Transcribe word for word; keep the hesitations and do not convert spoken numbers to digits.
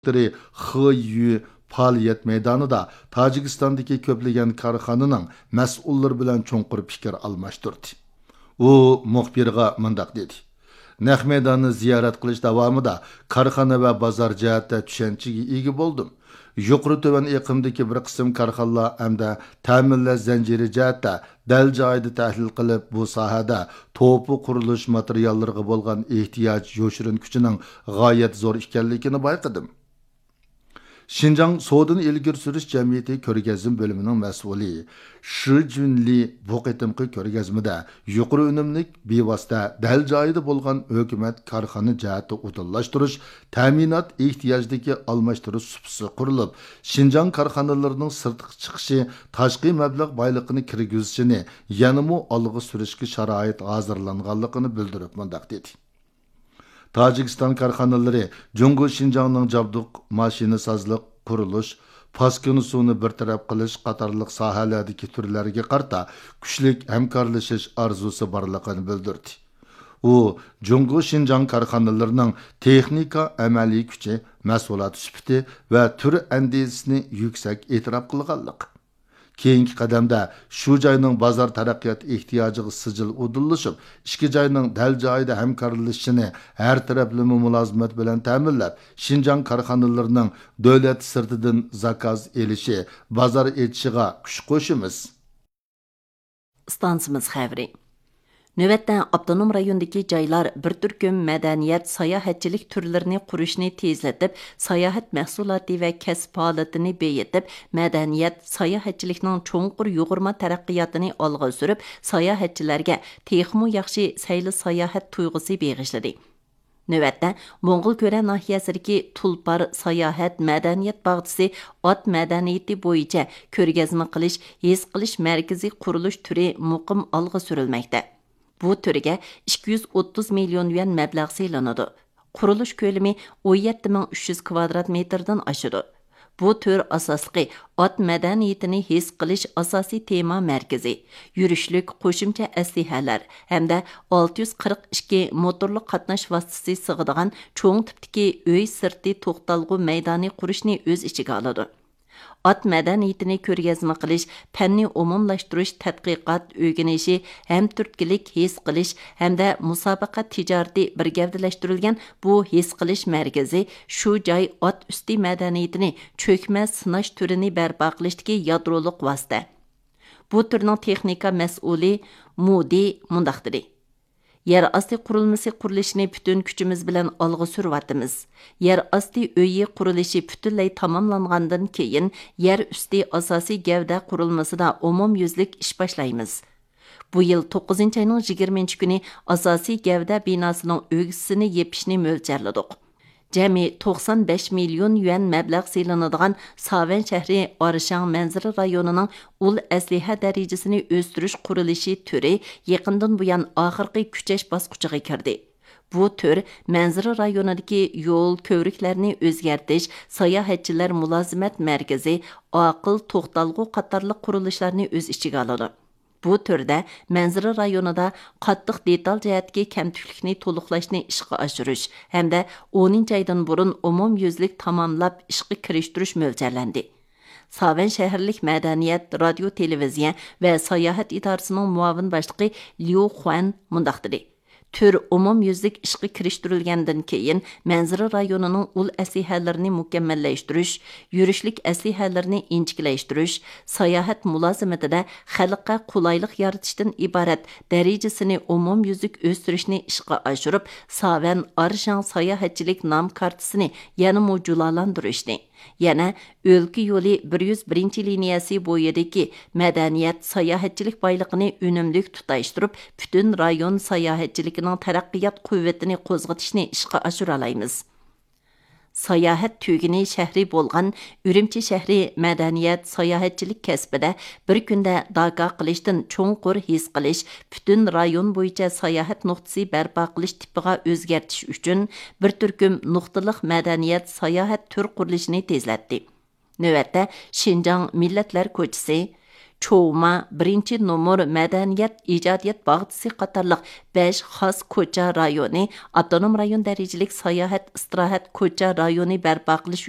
دىرېكتورى خې يۈ پائالىيەت مەيدانىدا تاجىكىستاندىكى كۆپلىگەن كارخانىنىڭ مەسئۇللىرى بىلەن چوڭقۇر پىكىر ئالماشتۇردى. ئۇ مۇخبىرغا مۇنداق دېدى: نەق مەيداننى زىيارەت قىلىش داۋامىدا كارخانا ۋە بازار جەھەتتە چۈشەنچىگە ئىگە بولدۇم. يۇقىرى تۆۋەن ئېقىمدىكى بىر قىسىم كارخانىلار ھەمدە تەمىنلەش زەنجىرى جەھەتتە دەل جايىدا تەھلىل قىلىپ، بۇ ساھەدە توپا قۇرۇلۇش ماتېرىياللىرىغا بولغان ئېھتىياج يوشۇرۇن كۈچىنىڭ غايەت زور ئىكەنلىكىنى بايقىدىم. شىنجاڭ سودىنى ئىلگىرى سۈرۈش جەمئىيىتى كۆرگەزمە بۆلۈمىنىڭ مەسئۇلى شى جۈنلى بۇ قېتىمقى كۆرگەزمىدە يۇقىرى ئۈنۈملۈك، بىۋاسىتە، دەل جايىدا بولغان ھۆكۈمەت كارخانا جەھەتتە ئۇدۇللاشتۇرۇش، تەمىنات ئېھتىياجىدىكى ئالماشتۇرۇش سۇپىسى قۇرۇلۇپ، شىنجاڭ كارخانىلىرىنىڭ سىرتقا چىقىشى، تاشقى مەبلەغ بايلىقىنى كىرگۈزۈشىنى يەنىمۇ ئالغا سۈرۈشكە شارائىت ھازىرلانغانلىقىنى بىلدۈرۈپ مۇنداق دېدى: تاجىكىستان كارخانىلىرى جۇڭگو شىنجاڭنىڭ جابدۇق ماشىنىسازلىق، قۇرۇلۇش، پاسكىنا سۇنى بىر تەرەپ قىلىش قاتارلىق ساھەلەردىكى تۈرلەرگە قارىتا كۈچلۈك ھەمكارلىشىش ئارزۇسى بارلىقىنى بىلدۈردى. ئۇ جۇڭگو شىنجاڭ كارخانىلىرىنىڭ تېخنىكا ئەمەلىي كۈچى، مەھسۇلات سۈپىتى ۋە تۈر ئەندىزىسىنى يۈكسەك ئېتىراپ قىلغانلىق، كېيىنكى قەدەمدە شۇ جاينىڭ بازار تەرەققىيات ئېھتىياجىغا سىجىل ئۇدۇللىشىپ، ئىككى جاينىڭ دەل جايىدا ھەمكارلىشىشىنى ھەر تەرەپلىمە مۇلازىمەت بىلەن تەمىنلەپ، شىنجاڭ كارخانىلىرىنىڭ دۆلەت سىرتىدىن زاكاز ئېلىشى، بازار ئېچىشىغا كۈچ قوشىمىز. ئىستانسىمىز خەۋىرى. نۆۋەتتە ئاپتونوم رايوندىكى جايلار بىر تۈركۈم مەدەنىيەت، ساياھەتچىلىك تۈرلىرىنى قۇرۇشنى تېزلىتىپ، ساياھەت مەھسۇلاتى ۋە كەسىپ ھالىتىنى بېيىتىپ، مەدەنىيەت، ساياھەتچىلىكنىڭ چوڭقۇر يۇغۇرما تەرەققىياتىنى ئالغا سۈرۈپ، ساياھەتچىلەرگە تېخىمۇ ياخشى سەيلە ساياھەت تۇيغۇسى بېغىشلىدى. نۆۋەتتە، موڭغۇلكۈرە ناھىيەسىدىكى تۇلپار ساياھەت مەدەنىيەت باغچىسى ئات مەدەنىيىتى بويىچە كۆرگەزمە قىلىش، ھېس قىلىش مەركىزى قۇرۇلۇش تۈرى مۇقىم ئالغا سۈرۈلمەكتە. بۇ تۈرگە ئىككى يۈز ئوتتۇز مىليون يۈەن مەبلەغ سېلىنىدۇ. قۇرۇلۇش كۆلىمى ئون يەتتە مىڭ ئۈچ يۈز كۋادرات مېتىردىن ئاشىدۇ. بۇ تۈر ئاساسلىقى ئات مەدەنىيىتىنى ھېس قىلىش ئاساسىي تېما مەركىزى، يۈرۈشلۈك قوشۇمچە ئەسلىھەلەر ھەمدە ئالتە يۈز قىرىق ئىككى موتورلۇق قاتناش ۋاسىتىسى سىغىدىغان چوڭ تىپتىكى ئۆي سىرتى توختالغۇ مەيدانى قۇرۇشنى ئۆز ئىچىگە ئالىدۇ. ئات مەدەنىيىتىنى كۆرگەزمە قىلىش، پەننى ئومۇملاشتۇرۇش، تەتقىقات، ئۆگىنىشى، ھەمتۈرتكىلىك ھېس قىلىش ھەمدە مۇسابىقە تىجارىتى بىر گەۋدىلەشتۈرۈلگەن بۇ ھېس قىلىش مەركىزى شۇ جاي ئات ئۈستى مەدەنىيىتىنى چۆكمە سىناش تۈرىنى بەرپا قىلىشتىكى يادرولۇق ۋاسىتە. بۇ تۈرنىڭ تېخنىكا مەسئۇلى مۇدى مۇنداق دېدى: يەر ئاستى قۇرۇلمىسى قۇرۇلۇشىنى پۈتۈن كۈچىمىز بىلەن ئالغا سۈرۈۋاتىمىز. يەر ئاستى ئۆيى قۇرۇلۇشى پۈتۈنلەي تاماملانغاندىن كېيىن، يەر ئۈستى ئاساسىي گەۋدە قۇرۇلمىسىدا ئومۇميۈزلۈك ئىش باشلايمىز. بۇ يىل توققۇزىنچى ئاينىڭ يىگىرمىنچى كۈنى ئاساسىي گەۋدە بىناسىنىڭ ئۆگزىسىنى يېپىشنى مۆلچەرلىدۇق. جەمئىي توقسان بەش مىليون يۈەن مەبلەغ سېلىنىدىغان ساۋەن شەھىرى ئارشاڭ مەنزىرە رايونىنىڭ ئۇل ئەسلىھە دەرىجىسىنى ئۆستۈرۈش قۇرۇلۇشى تۈرى يېقىندىن بۇيان ئاخىرقى كۈچەش باسقۇچىغا كىردى. بۇ تۈر مەنزىرە رايونىدىكى يول، كۆۋرۈكلەرنى ئۆزگەرتىش، ساياھەتچىلەر مۇلازىمەت مەركىزى، ئاقىل توختالغۇ قاتارلىق قۇرۇلۇشلارنى ئۆز ئىچىگە ئالىدۇ. بۇ تۈردە مەنزىرە رايونىدا قاتتىق دېتال جەھەتتىكى كەمتۈكلۈكنى تولۇقلاشنى ئىشقا ئاشۇرۇش ھەمدە ئونىنچى ئايدىن بۇرۇن ئومۇميۈزلۈك تاماملاپ ئىشقا كىرىشتۈرۈش مۆلچەرلەندى. ساۋەن شەھەرلىك مەدەنىيەت، رادىيو، تېلېۋىزىيە ۋە ساياھەت ئىدارىسىنىڭ مۇئاۋىن باشلىقى ليۇ خۇەن مۇنداق دېدى: تۈر ئومۇميۈزلۈك ئىشقا كىرىشتۈرۈلگەندىن كېيىن، مەنزىرە رايونىنىڭ ئۇل ئەسلىھەلىرىنى مۇكەممەللەشتۈرۈش، يۈرۈشلۈك ئەسلىھەلىرىنى ئىنچىكىلەشتۈرۈش، ساياھەت مۇلازىمىتىدە خەلققە قولايلىق يارىتىشتىن ئىبارەت دەرىجىسىنى ئومۇميۈزلۈك ئۆستۈرۈشنى ئىشقا ئاشۇرۇپ، ساۋەن ئارشاڭ ساياھەتچىلىك نام كارتىسىنى يەنىمۇ جۇلالاندۇرۇشنى، يەنە ئۆلكە يولى بىر يۈز بىرىنچى لىنىيەسى بويىدىكى مەدەنىيەت، ساياھەتچىلىك بايلىقىنى ئۈنۈملۈك تۇتاشتۇرۇپ، پۈتۈن رايون ساياھەتچىلىكىنىڭ تەرەققىيات قۇۋۋىتىنى قوزغىتىشنى ئىشقا ئاشۇرالايمىز. ساياھەت تۈگۈنى شەھىرى بولغان ئۈرۈمچى شەھىرى مەدەنىيەت، ساياھەتچىلىك كەسپىدە بىر كۈندە داكا قىلىشتىن چوڭقۇر ھېس قىلىش، پۈتۈن رايون بويىچە ساياھەت نۇقتىسى بەرپا قىلىش تىپىغا ئۆزگەرتىش ئۈچۈن بىر تۈركۈم نۇقتىلىق مەدەنىيەت، ساياھەت تۈر قۇرۇلۇشىنى تېزلەتتى. نۆۋەتتە، شىنجاڭ مىللەتلەر كوچىسى، چوۋما، بىرىنچى نومۇر مەدەنىيەت ئىجادىيەت باغچىسى قاتارلىق بەش خاس كوچا رايونى، ئاپتونوم رايون دەرىجىلىك ساياھەت ئىستىراھەت كوچا رايونى بەرپا قىلىش